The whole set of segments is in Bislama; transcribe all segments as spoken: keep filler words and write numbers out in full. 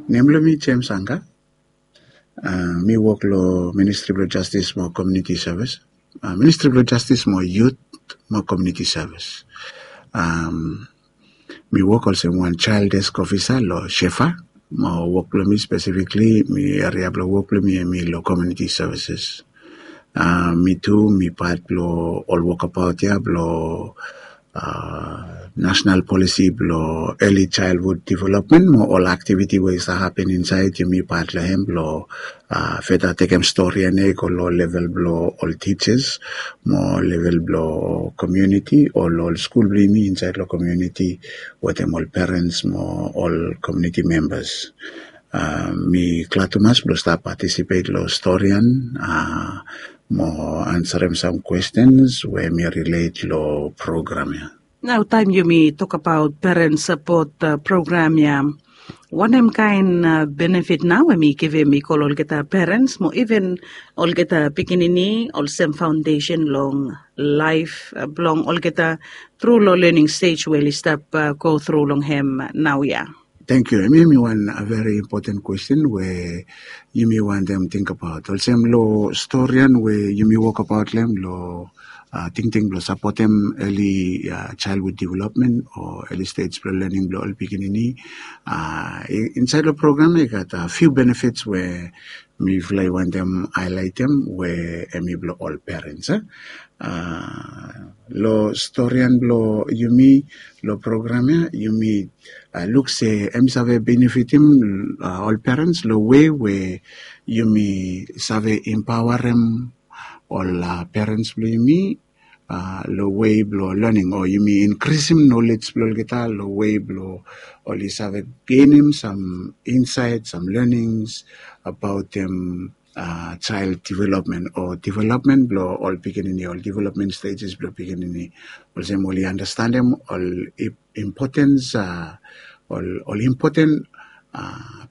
Nem blong mi James Anga. Mi wok long Ministri blong Jastis mo Komuniti Sevis. Ministri blong Jastis mo Yut mo Komuniti Sevis. Mi wok olsem wan Child Desk Ofisa long Shefa. Mo wok blong mi spesifikli, mi eria blong wok blong mi em i long komuniti sevises. Mi tu mi pat blong ol wokabaot ya blong nasonal polisi blong eli chaelhud developmen mo ol aktiviti we i save hapen insaed. Yumi pat long hem blong feta tekem stori ya i go long level blong ol tijas mo level blong komuniti o long ol skul blong yumi insaed long komuniti wetem ol perens mo ol komuniti membas. Mi glad tumas blong stap patisipet long stori ya mo ansarem sam kwestens we mi rilet long program ya. Nao taem yumi tokabaot peren sapot program ya, wanem kaen benefit nao em i givim i go long olgeta perens mo iven olgeta pikinini olsem faondesen long laef blong olgeta tru long lening stej we oli stap go tru long hem naoia? Tangkiu. Em ya em i wan veri impoten kwesten we yumi wantem tingbaot olsem long stori ya we yumi wokbaot long hem long tingting blong sapotem eli chaelhud developmen o eli stej blong lening blong ol pikinini. Insaed long program ya i gat fiu benefits we mifala i wantem haelaetem we em i blong ol perens. Long stori ya blong yumi long program ya yumi luk se em i save benefitim ol perens long wei we yumi save impaoarem ol perens blong yumi long wei blong lening o yumi inkrisim nolej blong olgeta long wei blong oli save genem sam insaed sam lenings abaotem chael developmen o developmen blong ol pikinini, ol developmen stejes blong pikinini, olsem oli andastanem ol impotens ol impoten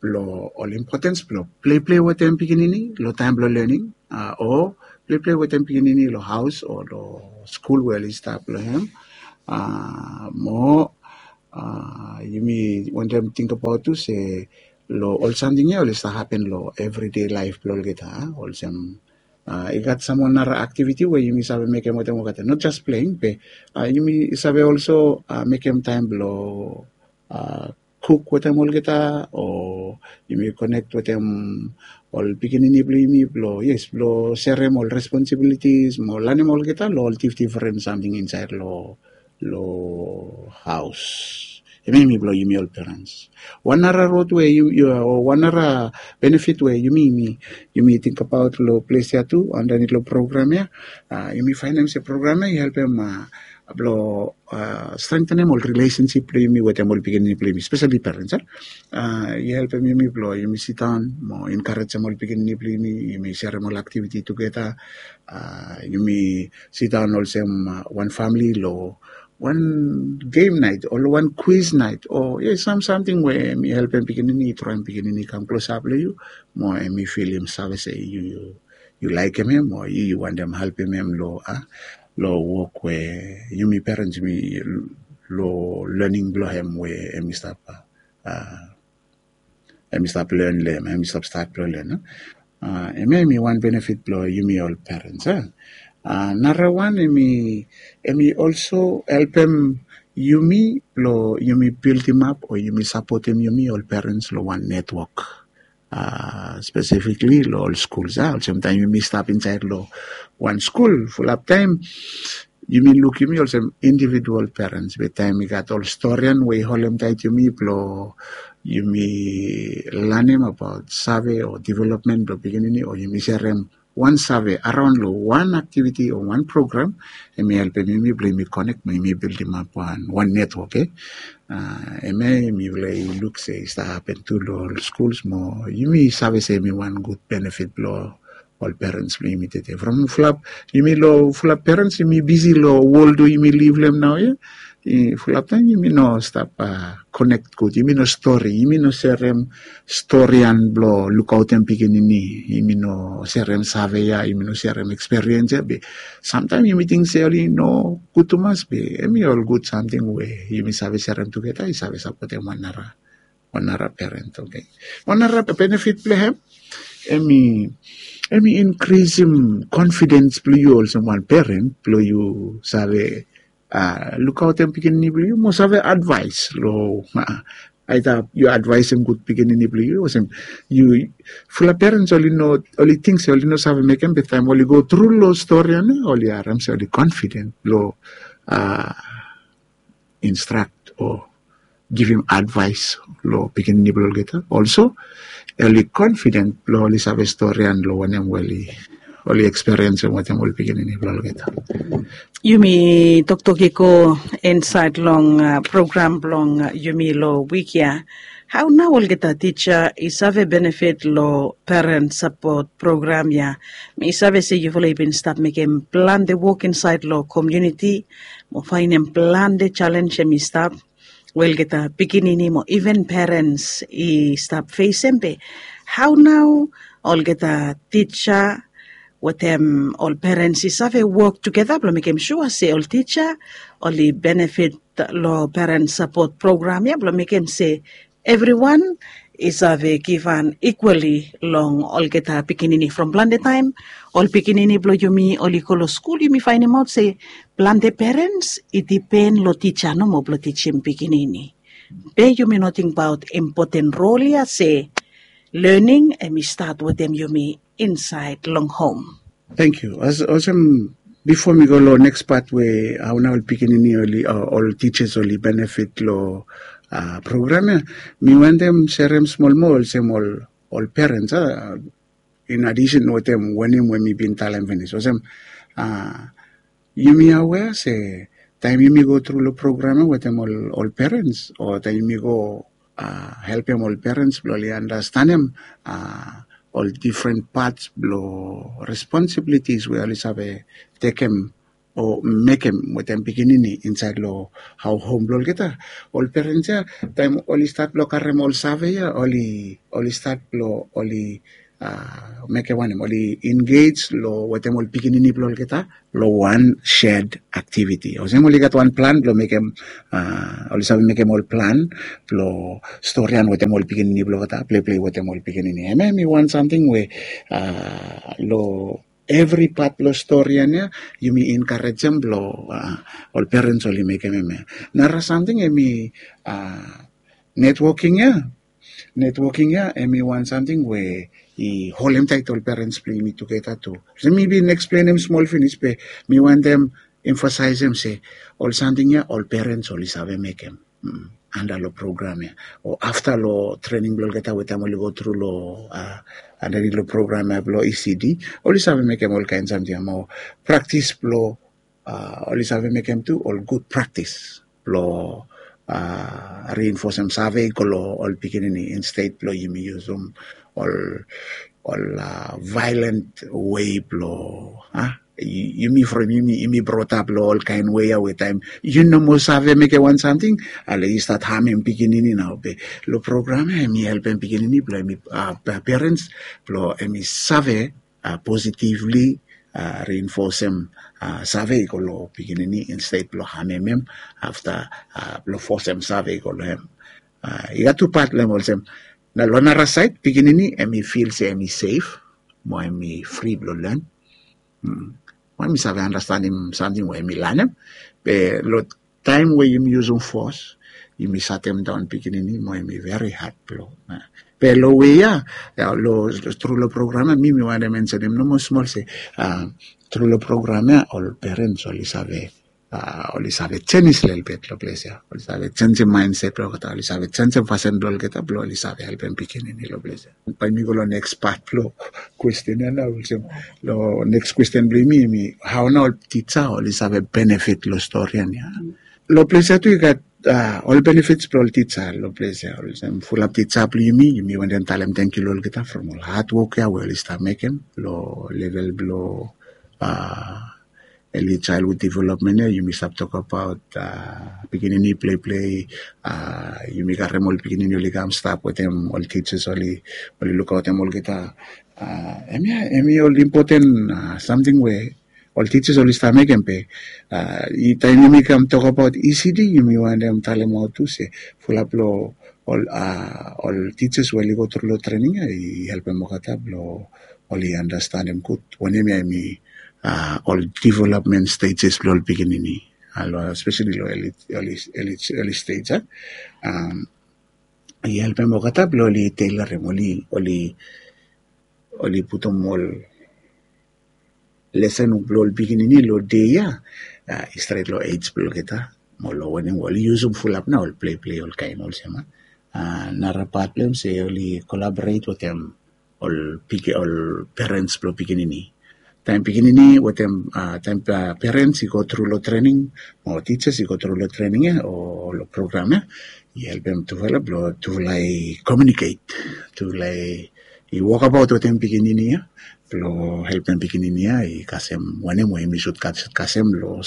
blong ol impotens blong pleiplei wetem pikinini long taem blong lening o pleiplei wetem pikinini long haos o long skul we oli stap long hem. Mo yumi wantem tingbaot tu se long ol samting ya oli stap hapen long evridei laef blong olgeta olsem i gat sam ol nara aktiviti we yumi save mekem wetem olgeta, not jas pleing be yumi save olso mekem taem blong kuk wetem olgeta o yumi konek wetem ol pikinini blong yumi blong yes blong serem ol responsibilitis mo lanem olgeta long ol difdifren samting insaed long long haos. Em ya em i blong yumi ol perens. Wan nara rod we wan nara benefit we yumi yumi tingbaot long ples ya tu andanit long program ya, yumi faenem se program ya i helpem blong strengtenem ol rilesensip blong yumi wetem ol pikinini blong yumi spesali perens. I helpem yumi blong yumi sidaon mo enkarejem ol pikinini blong yumi, yumi serem ol aktiviti tugeta. Yumi sidaon olsem wan famili long wan gem naet o long wan kwis naet o yes sam samting we mi helpem pikinini, traem pikinini i kam klosap long yu mo em i filim save se yu yu laekem em o yu yu wantem helpem em long a long wok we yumi perens yumi long lening blong em we em i stap a em i stap len long em em i stap stat blong len. Em ya em i wan benefit blong yumi ol perens a. Nara wan em i em i olso helpem yumi blong yumi bildimap o yumi sapotem yumi ol perens long wan netwok spesifikli long ol skuls a olsem taem yumi stap insaed long wan skul fulap taem yumi luk yumi olsem individual perens be taem i gat ol storian we i holemtaet yumi blong yumi lanem abaot save o developmen blong pikinini o yumi serem wan save araon long wan aktiviti o wan program. Em i helpem yumi blong yumi konek mo yumi bildimap wan wan netwok e em ya yumi luk se i stap hapen tu long ol skuls mo yumi save se em i wan gud benefit blong ol perens blong yumi tete from fulap yumi long fulap perens yumi bisi long wol tu yumi liv long em naoia. Fulap taem yumi no stap konek gud yumi no stori yumi no serem storian blong lukaotem pikinini yumi no serem save ya yumi no serem eksperiens ya be samtaem yumi ting se oli no gud tumas be em i ol gud samting we yumi save serem tugeta i save sapotem wan nara. wan nara peren. Oke, wan nara benefit blong hem, em i em i inkrisim konfidens blong yu olsem wan peren blong yu save lukaotem pikinini blong yu mo save advaes long aita yu advaesem gud pikinini blong yu olsem yu fulap perens oli no oli ting se oli no save mekem be taem oli go tru long stori ya na oli harem se oli konfiden blong instrak o givim advaes long pikinini blong olgeta olso oli konfiden blong oli save stori ya long wanem we oli eksperiensim wetem ol pikinini blong olgeta. Yumi toktok i go insaed long program blong yumi long wik ya. Hao nao olgeta tija i save benefit long peren sapot program ya? Mi save se yufala i bin stap mekem plante wok insaed long komuniti mo faenem plante jalenj hem i stap we olgeta pikinini mo iven perens i stap fesem be hao nao olgeta tija wetem ol perens i save wok tugeta blong mekem sua se ol tija oli benefit long peren sapot program ya blong mekem se evriwan i save givhan ikwali long olgeta pikinini from plante taem ol pikinini blong yumi oli go long skul yumi faenemaot se plante perens i dipen long tija nomo blong tijim pikinini. Be yumi no tingbaot impoten rol ya se lening em i stat wetem yumi insaed long hom. Tangkiu. Olsem bifo mi go long neks pat we hao nao ol pikinini ol tijas oli benefit long program ya, mi wantem serem smol moa olsem ol perens a in adisen wetem wanem we mi bin talem finis olsem yumi awea se taem yumi go tru long program ya wetem ol perens o taem yumi go helpem ol perens blong oli andastanem ol difren pats blong responsibilitis we oli save tekem o mekem wetem pikinini insaed long hao hom blong olgeta. Ol perens ya taem oli stat blong karem ol save ya oli stat blong oli mekem wanem oli engej long wetem ol pikinini blong olgeta long wan shed aktiviti olsem oli gat wan plan blong mekem oli save mekem ol plan blong storian wetem ol pikinini blong olgeta pleplei wetem ol pikinini hemia em i wan samting we long evri pat blong storian ya yumi enkarejem blong ol perens oli mekem hemia. Nara samting em i netwoking ya. Netwoking ya em i wan samting we i holemtaet ol perens blong yumi tugeta tu. Olsem mi bin eksplenem smol finis be mi wantem emfasaesem se ol samting ya ol perens oli save mekem anda long program ya o afta long trening blong olgeta we taem oli go tru long andanit long program ya blong ecd oli save mekem olkaen samting ya mo praktis blong oli save mekem tu ol gud praktis blong rinfosem save i go long ol pikinini insted blong yumi yusum ol ol vaelan wei blong yumi from yumi brotap long olkaen wei ya we taem yu no moa save mekem wan samting ale yu stat hamem pikinini nao be long program ya em i helpem pikinini blong em i perens blong em i save positivli rinfosem save i go long pikinini insted blong hamem em afta blong fosem save i go long em. I gat tu pat long em olsem na long nara saed pikinini em i fil se em i sef mo em i fri blong len mo em i save anastanem samting we em i lanem. Be long taem we yumi yusum fos yumi satemdaon pikinini mo em i veri had blong be long we ya tru long program ya mi mi wantem mensenem nomo smol se tru long program ya ol perens oli save oli save jenis lelbet long ples ya oli save jenjem maenset blong olgeta oli save jenjem fasin blong olgeta blong oli save helpem pikinini long ples ya. Bae mi go long neks pat blong kwesten ya na olsem long neks kwesten blong yumi em i hao na ol tija oli save benefit long storian ya. Long ples ya tu i gat ol benefits blong ol tija long ples ya olsem fulap tija blong yumi yumi wantem talem tangkiu long olgeta from ol hadwok ya we oli stap mekem long level blong eli chaelhud developmen ya yumi stap tokabaot pikinini pleiplei yumi karim ol pikinini oli kam stap wetem ol tijas oli lukaotem olgeta. Hemia hemi ol impoten samting we ol tijas oli stap mekem be taem yumi kam tokabaot ecd yumi wantem talemaot tu se fulap long ol a ol tijas we oli go tru long trening ya i helpem olgeta blong oli andastanem gud wanem ya em i a ol development stejes blong ol pikinini a long spesali long eli eli eli stej a i helpem olgeta blong oli teilorim oli oli oli putum ol lesen blong ol pikinini long dei ya i stret long ej blong olgeta mo long wanem ol i yusum fulap na ol pleplei olkain olsem a nara pat blong em se oli kolaboret wetem ol piki ol perens blong pikinini taem pikinini wetem taem perens i go tru long trening mo tijas i go tru long trening ya o long program ya i helpem tufala blong tufala i komiuniket tufala i wokabaot wetem pikinini ya blong helpem pikinini ya i kasem wanem we em i sud kasem long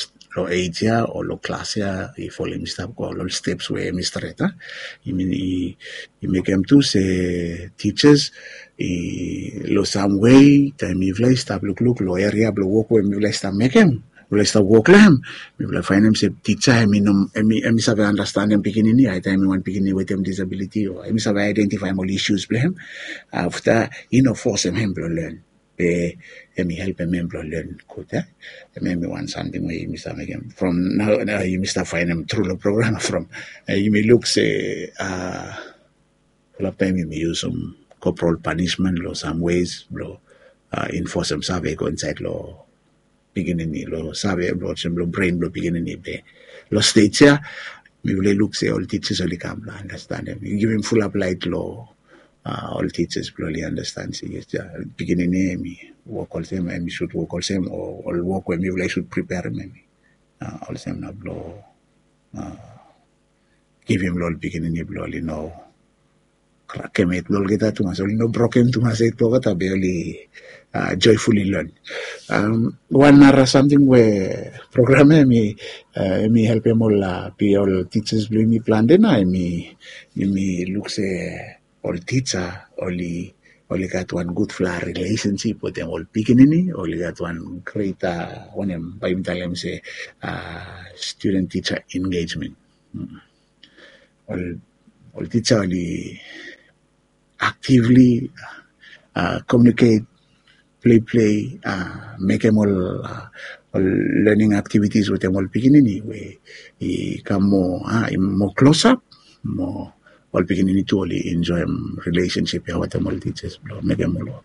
ej ya o long klas ya i folem i stap go long ol steps we em i stret a i mekem tu se tijas i long sam wei taem mifala i stap lukluk long eria blong wok we mifala i stap mekem mifala i stap wok long hem mifala faenem se tija em i save anastenem pikinini aetaem i wan pikinini wetem disabiliti o em i save aedentifaem ol isus blong hem afta i no fosem hem blong len be em i helpem em blong len gud a em em i wan samting we yumi save mekem from nao yumi stap faenem tru long program from yumi luk se a fulap taem yumi yusum koprol panismen long sam wes blong infosem save i go insaed long pikinini long save blong olsem long bren blong pikinini be long stej ya mifala i luk se ol tijas oli kam blong anastenem i givim fulap laet long ol tijas blong oli andastan se yes ya pikinini em i wok olsem em i sud wok olsem o ol wok we mifala i sud priperim em i olsem na blong givim long ol pikinini blong oli no krakemet blong olgeta tumas oli no broken tumas et blong olgeta be oli joefuli lon wan nara samting we program ya em i helpem ol be ol tijas blong yumi plante na em i yumi luk se ol tija oli oli gat wan gudfala rilesensip wetem ol pikinini oli gat wan greta wanem bai yumi talem se studen tija engejmen ol ol tija oli aktivli komiuniket pleplei mekem ol ol lening aktivitis wetem ol pikinini we i kam moa i moa klosap mo ol pikinini tu oli enjoem rilesensip ya wetem ol tijas blong mekem ol wok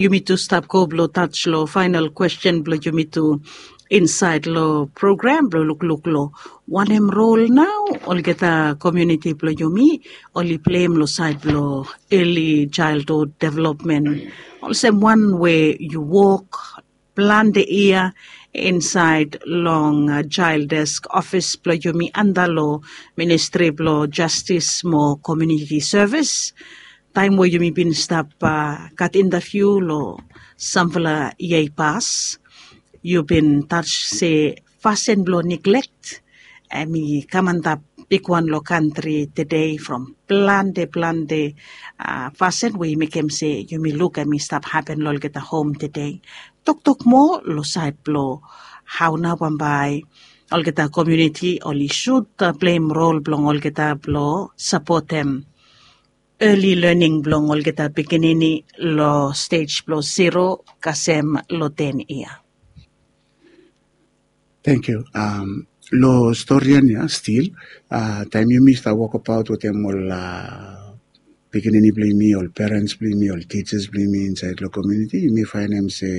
yumi tu stap go blong taj long faenal kwesten blong yumi tu insaed long program blong lukluk long wanem rol nao olgeta komiuniti blong yumi oli pleim long saed blong eli jaeldhud developmen olsem wan we yu wok plante yia insaed long jaeldes ofis blong yumi anda long ministri blong jastis mo komiuniti sevis taem we yumi bin stap gat intaviu long samfala yia i pas yu bin taj se fasin blong niglek em i kam antap bigwan long kantri tede from plante plante fasin we i mekem se yumi luk em i stap hapen long olgeta hom tede toktok moa long saed blong hao nao bambae olgeta komiuniti oli sud pleim rol blong olgeta blong sapotem eli lening blong olgeta pikinini long stej blong zero kasem long ten yia. Tangkiu. Long storian ya stil taem yumi stap wokabaot wetem ol pikinini blong yumi ol perens blong yumi ol tijas blong yumi insaed long komiuniti yumi faenem se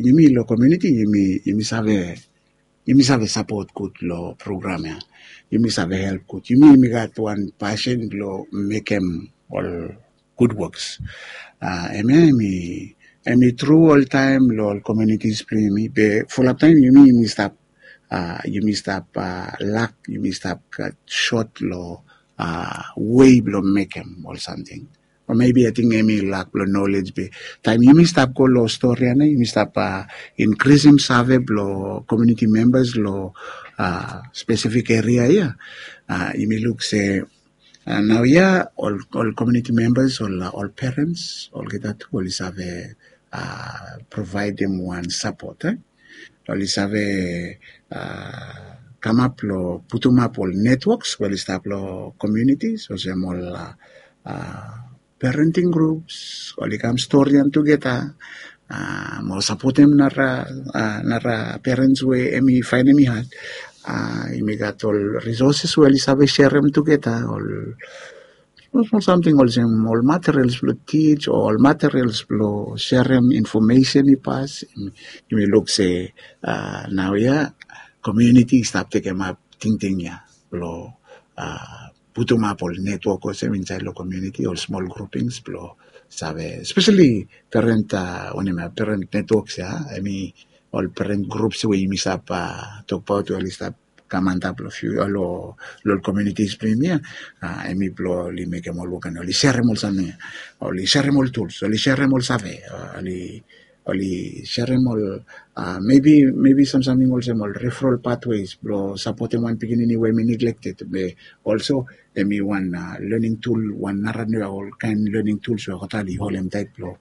yumi long komiuniti yumi save yumi save sapot gud long program ya yumi save help gud yumi yumi gat wan pasin blong mekem ol gud woks em ya em i em i tru oltaem long ol komiunitis blong yumi be fulap taem yumi yumi stap yumi stap lak yumi stap gat sot long wei blong mekem ol samting o mebi ating em i lak blong nolej be taem yumi stap go long stori ya na yumi stap inkrisim save blong komiuniti membas long spesifik eria ya yumi luk se nao ya ol komiuniti membas ol perens olgeta tu oli save provaedim wan sapot oli save kamap long putumap ol netwoks we oli stap long komiunitis olsem ol parenting grups, oli kam storian tugeta mo sapotem nara nara perens we em i faenem i had. Yumi gat ol risoses we oli save serem tugeta ol smol smol samting olsem ol materials blong tij o ol materials blong serem infomesen i pas. Yumi luk se nau ya komiuniti i stap tekemap tingting ya blong putumap ol netwok olsem insaed long komiuniti ol smol grupings blong save spesali perent wanem ya perent netwoks ya em i ol perent grups we yumi stap tokbaot we oli stap kam antap long fiu long ol komiunitis blong yumi ya. Em i blong oli mekem ol wok ya oli serem ol samting ya oli serem ol tuls oli serem ol save oli oli serem ol mebi mebi samsamting olsem ol referal pathways blong sapotem wan pikinini we em i neglected be olso em i wan learning tool wan nara ol kaen learning tools we olgeta oli holem taet blong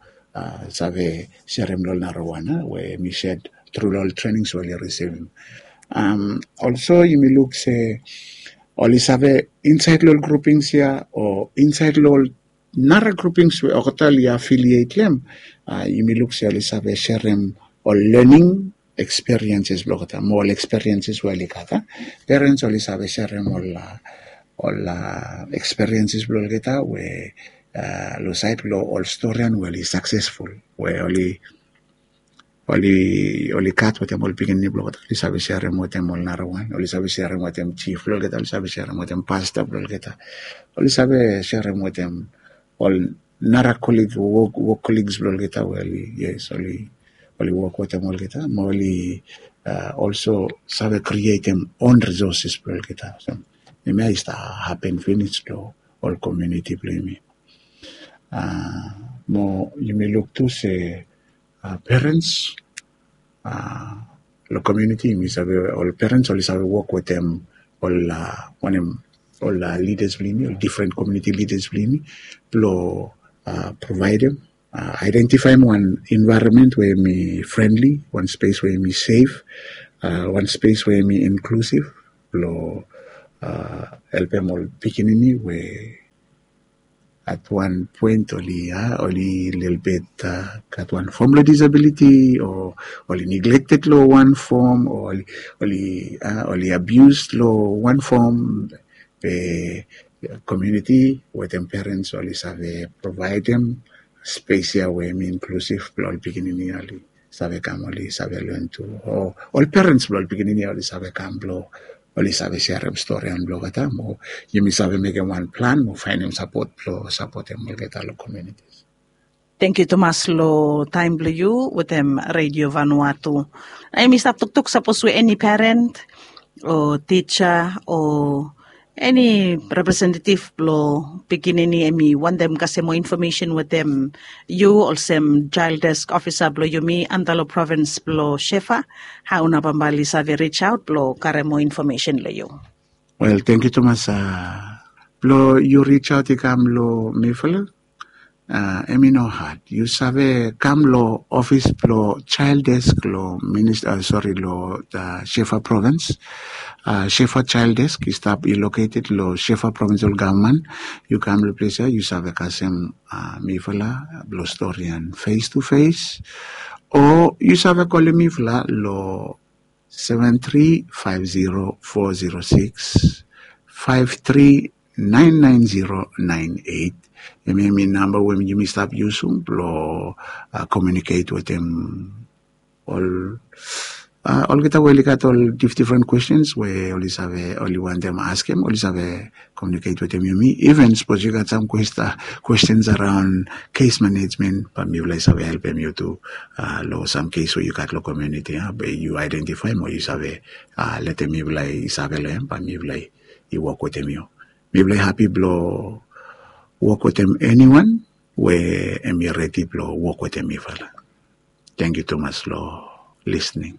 save serem long ol nara wan we em i sed tru long ol trainings we oli risivim. Olso yumi luk se oli save insaed long ol groupings ya o insaed long ol nara groupings we olgeta oli affiliate long em. Yumi luk se oli save serem ol learning experiences blong olgeta mo ol experiences we oli gat. Perens oli save serem ol ol experiences blong olgeta we long saed blong ol storian we oli successful we oli oli oli gat wetem ol pikinini blong olgeta oli save serem wetem ol nara wan oli save serem wetem jif blong olgeta oli save serem wetem pasta blong olgeta oli save serem wetem ol nara kolig wok wok koligs blong olgeta we oli yes oli oli wok wetem olgeta mo oli olso save krietem on risoses blong olgeta. Em ya i stap hapen finis long ol komiuniti blong yumi. Mo yumi luk tu se perens long komiuniti yumi save ol perens oli save wok wetem ol wanem ol lidas blong yumi ol difren komiuniti lidas blong yumi blong provaedem aedentifaem wan envaeronmen we em i frenli wan spes we em i sef wan spes we em i inklusiv blong helpem ol pikinini we at wan poen oli a oli lelebet gat wan fom blong disabiliti o oli neglekted long wan fom o oli a oli abius long wan fom. Be komiuniti wetem perens oli save provaedem spes ya we em i inklusiv blong ol pikinini oli save kam oli save len tu o ol perens blong ol pikinini oli save kam blong oli save serem storian blong olgeta mo yumi save mekem wan plan mo faenem sapot blong sapotem olgeta long komiunitis. Tengkiu tumas long taem blong yu wetem redio vanua tu. Nao yumi stap toktok sapos we eni peren o tija o eni representetiv blong pikinini em i wantem kasem moa infomesen wetem yu olsem jael desk ofisa blong yumi antap long provins blong shefa, hao nao bambae oli save rijaot blong karem moa infomesen long yu? Wel tengkiu tumas blong yu rijaot i kam long mifala. Em i no had yu save kam long ofis blong jael desk long minista sori long shefa provins. Shefa jael desk i stap i loketed long shefa provinsal gavman. Yu kam long ples ya yu save kasem mifala blong storian fes tu fes o yu save kolem mifala long seven three five zero four zero six five three nine nine zero nine eight. Em em i namba we yumi stap yusum blong komiuniket wetem ol olgeta we oli gat ol difdifren kwestens we oli save oli wantem askem oli save komiuniket wetem yumi. Even sapos yu gat sam kwestens araon kes manejmen bae mifala i save helpem yu tu long sam kes we yu gat long komiuniti ya bae yu aedentifaem o yu save letem mifala i save long em bae mifala i wok wetem yu. Mifala i hapi blong wok wetem eniwan we em i redi blong wok wetem mifala. Tengkiu tumas long lisning.